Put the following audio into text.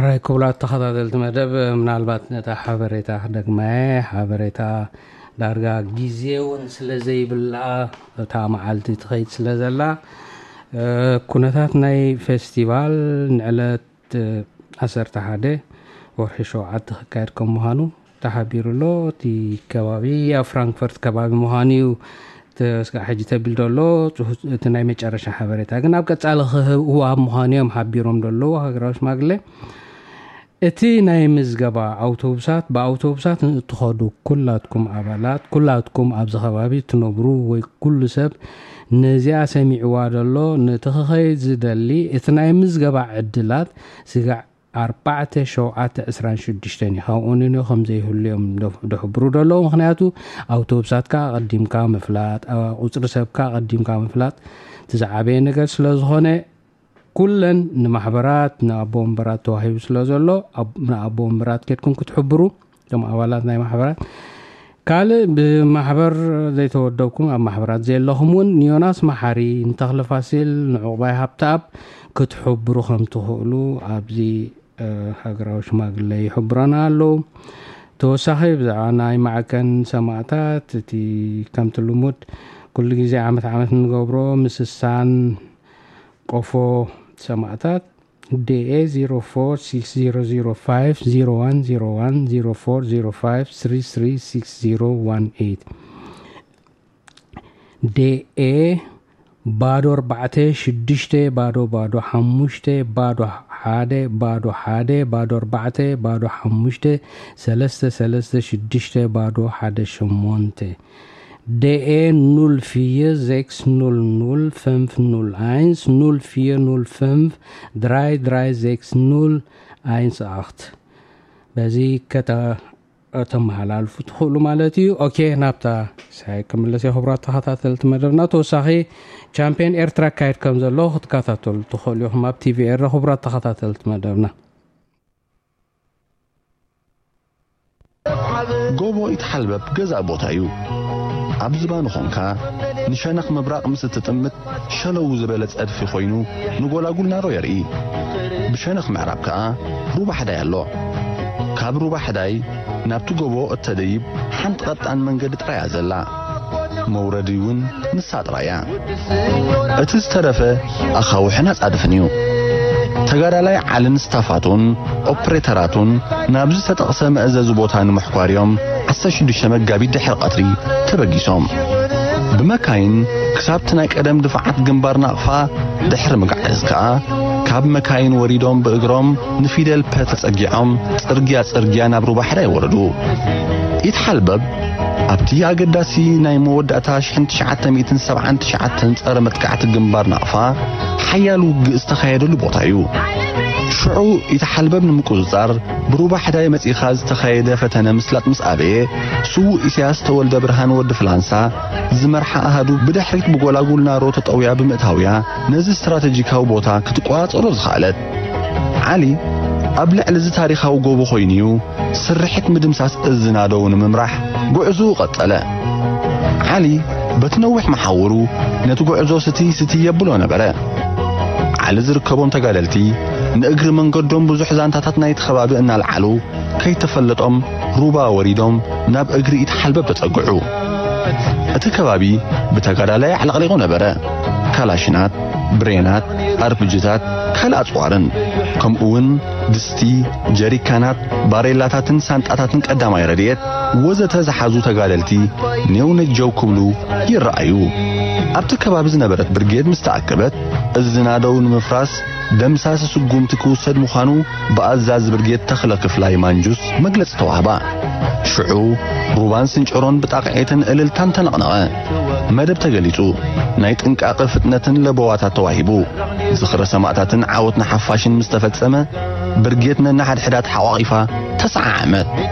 ራይ ክቡራት ተኸታተልቲ መደብ፣ ምናልባት ነታ ሓበሬታ ክደግማየ፣ ሓበሬታ ዳርጋ ግዜ እውን ስለ ዘይብላ፣ እታ መዓልቲ ትኸይድ ስለ ዘላ፣ እ፣ ኩነታት ናይ ፌስቲቫል ንዕለት፣ እ፣ ዓሰርተ ሓደ ወርሒ ሸውዓተ ክካየድ ከም ምዃኑ ተሓቢሩ ኣሎ። እቲ ከባቢ ኣብ ፍራንክፈርት ከባቢ ምዃኑ እዩ፣ ተ-፣ ስጋዕ ሕጂ ተቢሉ ዘሎ። ጽሁ-፣ እቲ ናይ መጨረሻ ሓበሬታ ግን ኣብ ቀጻሊ ክህብ እዋብ ምዃኑ እዮም ሓቢሮም ዘለዉ ሃገራዊ ሽማግለ። እቲ ናይ ምዝገባ ኣውቶቡሳት፣ ብኣውቶቡሳት ንእትኸዱ ኩላትኩም ኣባላት፣ ኩላትኩም ኣብዚ ከባቢ ትነብሩ ወይ ኩሉ ሰብ ነዚኣ ሰሚዕዋ ዘሎ፣ ነቲ ክኸይድ ዝደሊ፣ እቲ ናይ ምዝገባ ዕድላት ስጋዕ ኣርባዕተ ሸውዓተ ዕስራን ሽዱሽተን እዩ። ካብኡ ንንዮ ከም ዘይህሉ እዮም ዶ-፣ ደሕብሩ ደለዉ። ምኽንያቱ ኣውቶቡሳትካ ኣቐዲምካ ምፍላጥ፣ ኣ-፣ ቁጽሪ ሰብካ ኣቐዲምካ ምፍላጥ እቲ ዝዓበየ ነገር ስለ ዝኾነ፣ ኩለን ንማሕበራት፣ ንኣቦ ወንበራት ተዋሂቡ ስለ ዘሎ፣ ኣብ-፣ ንኣቦ ወንበራት ኬድኩም ክትሕብሩ፣ እቶም ኣባላት ናይ ማሕበራት። ካልእ ብማሕበር ዘይተወደብኩም፣ ኣብ ማሕበራት ዘለኹም እውን ንዮናስ መሓሪ፣ ንተኽለ ፋሲል፣ ንዕቑባይ ሃብተኣብ ክትሕብሩ ከም ትኽእሉ ኣብዚ፣ እ፣ ሃገራዊ ሽማግለ ይሕብረና ኣለዉ። ተወሳኺ ብዛዕባ ናይ ማዕከን ሰማእታት፣ እቲ ከምቲ ልሙድ ኩሉ ግዜ ዓመት ዓመት እንገብሮ ምስሳን ቆፎ ሰማእታት፣ ዲ ኤ ዜሮ ፎር ሲክስ ዜሮ ዜሮ ፋይቭ ዜሮ ዋን ዜሮ ዋን፣ ዜሮ ፎር ዜሮ ፋይቭ ስሪ ስሪ ሲክስ ዜሮ ዋን ኤይት። ዲ ኤ ባዶ ኣርባዕተ ሽዱሽተ ባዶ ባዶ ሓሙሽተ ባዶ ሓደ ባዶ ሓደ ባዶ ኣርባዕተ ባዶ ሓሙሽተ ሰለስተ ሰለስተ ሽዱሽተ ባዶ ሓደ ሸሞንተ። ዲ ኤ ኑል ቪር ዜክስ ኑል ኑል ፈንፍ ኑል ኣይንስ ኑል ቪር ኑል ፈንፍ ድራይ ድራይ ዜክስ ኑል ኣይንስ ኣኽት። በዚ ከተመሓላልፉ ትኽእሉ ማለት እዩ። ኦኬ፣ ናብታ ሳይ ክምለስ እየ። ክቡራት ተኸታተልቲ መደብና፣ ተወሳኺ ቻምፒዮን ኤርትራ ካየድ ከም ዘሎ ክትከታተሉ ትኽእሉ ኢኹም ኣብ ቲ ቪ ኤረ። ክቡራት ተኸታተልቲ መደብና፣ ጎቦ ኢትሓልበብ ገዛ ቦታ እዩ። ኣብ ዝባኑ ኾንካ ንሸነኽ ምብራቕ ምስ እትጥምት ሸለው ዝበለ ጸድፊ ኮይኑ ንጎላጉል ናሮ የርኢ። ብሸነኽ ምዕራብ ከኣ ሩባ ሕዳይ ኣሎ። ካብ ሩባ ሕዳይ ናብቲ ጎቦ እተደይብ ሓንቲ ቀጣን መንገዲ ጥራይ እያ ዘላ። መውረዲ እውን ንሳ ጥራይ እያ። እቲ ዝተረፈ ኣኻውሕን ኣጻድፍን እዩ። ተጋዳላይ ዓልን ስታፋቱን ኦፕሬተራቱን ናብዚ ዝተጠቕሰ መእዘዚ ቦታ ንምሕኳር እዮም ዓሰርተ ሽዱሽተ መጋቢት ድሕሪ ቀትሪ ተበጊሶም። ብመካይን ክሳብቲ ናይ ቀደም ድፋዓት ግንባር ናቕፋ ድሕሪ ምግዓዝ ከኣ፣ ካብ መካይን ወሪዶም ብእግሮም ንፊደል ፐ ተጸጊዖም ጽርግያ ጽርግያ ናብ ሩባ ሕዳይ ወረዱ። ኢትሓልበብ ኣብቲ ኣገዳሲ ናይ መወዳእታ ሽሕን ትሽዓተ ሚእትን ሰብዓን ትሽዓተን ጸረ መጥቃዕቲ ግንባር ናቕፋ ሓያል ውግእ ዝተኻየደሉ ቦታ እዩ። ሽዑ ኢትሓልበብ ንምቁጽጻር ብሩባ ሕዳይ መጺኻ ዝተኻየደ ፈተነ ምስላጥ ምስ ኣበየ፣ ስዉእ ኢሳያስ ተወልደ ብርሃን ወዲ ፍላንሳ ዝመርሓ ኣሃዱ ብድሕሪት ብጎላጉል ናሮ ተጠውያ ብምእታውያ ነዚ ስትራተጂካዊ ቦታ ክትቆጻጸሮ ዝኸኣለት። ዓሊ ኣብ ልዕሊ እዚ ታሪኻዊ ጎቦ ኮይኑ'ዩ ስርሒት ምድምሳስ እዝናደው ንምምራሕ ጉዕዞኡ ቀጸለ። ዓሊ በቲ ነዊሕ መሓውሩ ነቲ ጉዕዞ ስቲ ስቲ የብሎ ነበረ። ዓሊ ዝርከቦም ተጋደልቲ ንእግሪ መንገዶም ብዙሕ ዛንታታት ናይቲ ከባቢ እናልዓሉ ከይተፈለጦም ሩባ ወሪዶም ናብ እግሪ ኢትሓልበብ ተጸግዑ። እቲ ከባቢ ብተጋዳላይ ኣዕለቕሊቑ ነበረ። ካላሽናት፣ ብሬናት፣ ኣርፕጅታት፣ ካልእ ኣጽዋርን፣ ከምኡውን ድስቲ፣ ጀሪካናት፣ ባሬላታትን ሳንጣታትን ቀዳማይ ረድኤት ወዘተ ዝሓዙ ተጋደልቲ ኔው ነጀው ክብሉ ይረኣዩ። ኣብቲ ከባቢ ዝነበረት ብርጌድ ምስ ተኣከበት፣ እዚ ናደው ንምፍራስ ደምሳሲ ስጉምቲ ክውሰድ ምዃኑ ብኣዛዚ ብርጌድ ተኽለ ክፍላይ ማንጁስ መግለጺ ተዋህባ። ሽዑ ሩባን ስንጭሮን ብጣቕዒትን እልልታን ተነቕነቐ። መደብ ተገሊጹ። ናይ ጥንቃቐ ፍጥነትን ለበዋታት ተዋሂቡ። ዝኽረ ሰማእታትን ዓወት ንሓፋሽን ምስ ተፈጸመ፣ ብርጌድ ነንሓድሕዳ ተሓቋቒፋ ተሰዓዓመት።